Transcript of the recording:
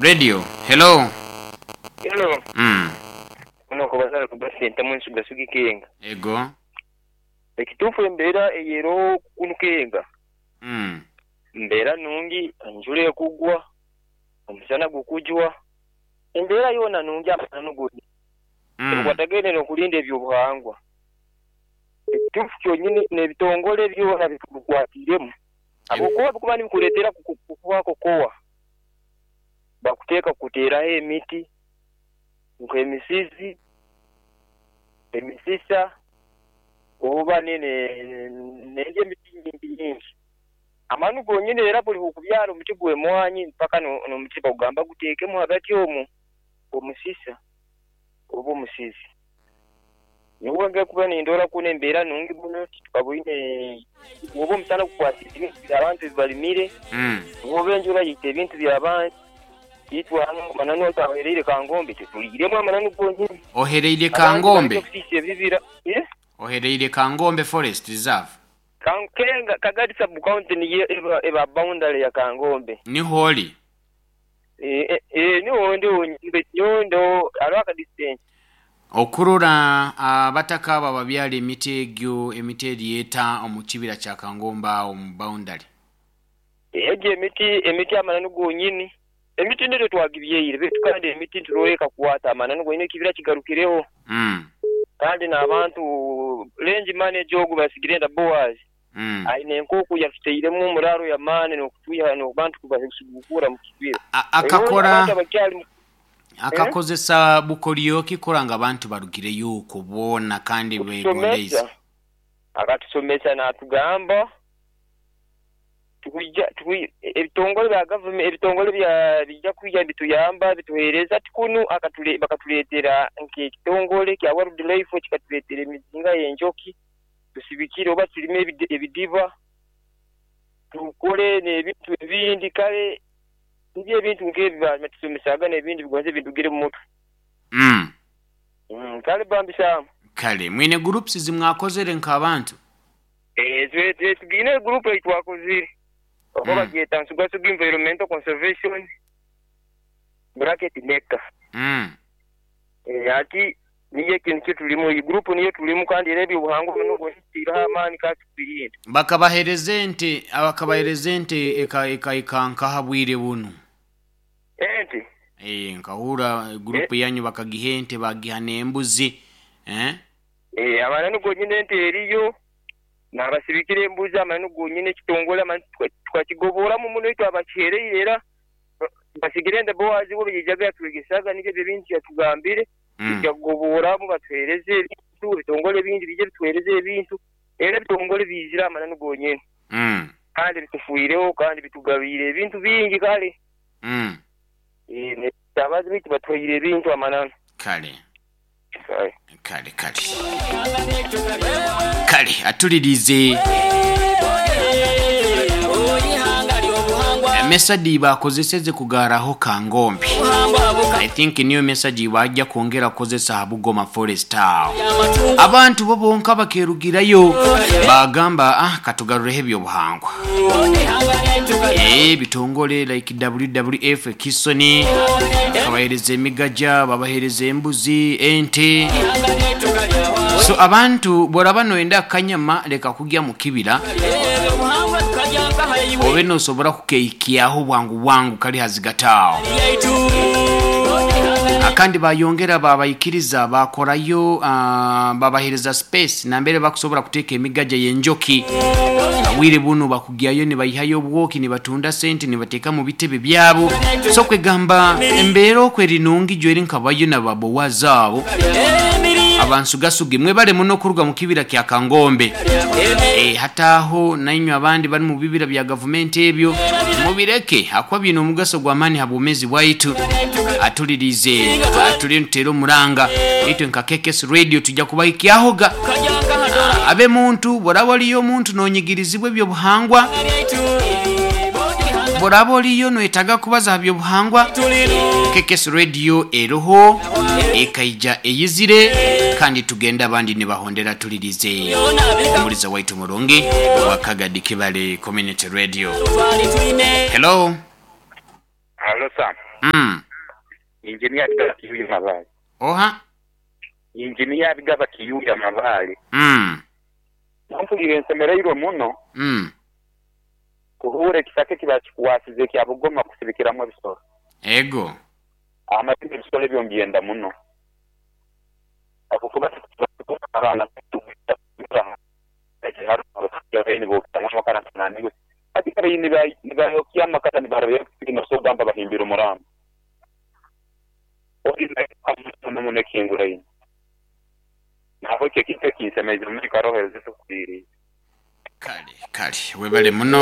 Radio, hello. Hello. Mm. Ono Kobazara Kuba Sentamu Nsugasuga Ikenga. Ego. Ekituufu embeera eyeroho kunu Kenga. Mm. Mbeera nungi, enjura ekugwa, omusana gukujwa. Embeera yoona nungi amananu goni. Ebikwatagaine n'okulinda eby'obuhangwa. Ekituufu kyonyini n'ebitongole byona bitubikwatiiremu. Habwokuba bikuba nibikuleetera kukuha kokowa, bakuteeka kukuteeraho emiti nk'emisizi, emisisa, oba n'endi emiti nyingi nyingi. Amanu gonyini era buli bw'okubyara omuti gw'emwanyi mpaka n'omuti bakugamba guteekemu hagati omwo omusisa oba omusizi. Nyowe nge kuba nindora kunu embeera nungi muno titukaboine oba omusana gukwasize ebintu by'abantu ebi balimire, oba enjura yaita ebintu by'abantu. Itwe hanu amananu ahereire Kangombe tituliiremu amananu gonyini. Ohereire Abantu Kangombe? baleke kusiisa ebibira. Eh? Ohereire Kangombe Forest Reserve? Kenga, Kagadi Sub County niyo eba, eba boundary ya Kangombe. Niho oli? Eh, eh, niho ndi wonyini, nyowe ndo hariho aka distance. Okurora abataka abo ababyara emiti egyo, emiti eryeta omu kibira kya Kangombe agho mu boundary. Egyo emiti, emiti amananu gonyini. Emiti nitwe twagibyaire beitu kandi emiti nituroora ekakwata amananu gonyini ekibira kigarukiregho. Kandi n'abantu, range manager ogu Basigirenda Boaz aine enkooku yatutairemu omuraaro y'amaani n'okutwiha n'okuba nitukubasigukura mu kibira. Akakora Abantu abakyali mu Akakozesa bukoryo ki kurora ngu abantu barugireyo okwo boona kandi begondeize? Kutusomesa, akatusomesa natugamba Twija, twi, ebitongole bya gavumenti, ebitongole bya, bija kwija nibituyamba bituheereza ti kunu akatule, bakatuleetera nk'ekitongole kya World Life kikatuleetera emizinga y'enjoki tusibikire oba tulime ebidiba, tukole n'ebintu ebindi kale nibyo ebintu nk'ebyo baatusomesaaga n'ebindi bigonza bindugire mu mutwe. Kale bambi Sam. Kale mwine groups zimwakozere nk'abantu? Eeh tugiine group ei twakozire oba bagyeta Nsugasuga Environmental Conservation bracket NECA. Eeh hati niyo ekintu kyetulimu eyi group niyo tulimu kandi era ebyobuhangwa binu byona tuteireho amaani kandi tukubirinda. Bakabahereza ente bakabahereza ente ekaika nkaha bwire bunu? Ente? Eeh nkahurra group yanyu bakagiha ente bagiha n'embuzi eeh. Eeh amananu gonyini ente eriyo. Naabasibikira embuzi amananu gonyini ekitongole amananu tukakigoboramu muno itwe abakihereire era Basigire nde Boazi we yaijaga yatwegesaga nibyo ebyo ebintu yatugambire twija kugoboramu batuhereze ebintu ebitongole ebindi biije bituhereze ebintu era ebitongole biizire amananu gonyini kandi bitufwireho kandi bitugabiire ebintu bingi kale abazi baitu batuhaire ebintu amananu. Kale. Kale kale kale atulirize Emesa dhibakozeseze kugaaraho Kangombe. I think niyo mesa gyebajja kwongera kukozesa ha Bugoma Forest agho. Abantu bo bonka bakerugirayo bagamba ah katugarureho ebyobuhangwa. Eeh bitongole like WWF Kisoni bakabahereza emigaja, babahereza embuzi, ente. So abantu bworaba noyenda akanyama leka kugya mu kibira obe nosobora kukeikyaho bwangu bwangu kali hazigati aho. Akandi bayongera babaikiriza bakorayo babahereza space nambere bakusobora kuteka emigaja y'enjoki. Obwire bunu bakugyayo nibaihayo obwoki nibatunda sente nibateeka mu bitebe byabo. So kwegamba embeera oku eri nungi jweri nka bayo na ba Boazi abo abansugasuge. Mwebale muno kuruga mu kibira kya Kangombe. Hati aho nainywe abandi bali mu bibira bya gavumenti ebyo mubireke ahakuba biine omugaso gw'amaani ha bwomeezi bwaitu. Atulirize, turiyo nituteera omuranga itwe nka KKS Radio twija kubahikyahoga. Abe muntu, bworaba oriyo omuntu nonyigirizibwa eby'obuhangwa, bworaba oriyo noyetaga kubaza ha by'obuhangwa, KKS Radio eriho, ekaija eyizire kandi tugenda abandi nibahondera tulirize omuliza waitu omurungi owa Kagadi Kibale Community Radio. Hello. Halo Sam. Injiniya Bigaba Kiyuya Mabaale. Oha? Injiniya Bigaba Kiyuya Mabaale. Mpulire nsemereirwe muno kuhuura ekisaka eki bakikwasize ekya Bugoma kusibikiramu ebisolo. Ego. Amazima ebisolo ebyo mbyenda muno habwokuba abaana baitu amakara hati kare nibayokya amakara nibarabya nosobora kugamba bahimbire omurambo. Ori muno ekihinguraine. Nahabweki ekintu eki kinsemeize muno karoho. Kale, kale, webale muno.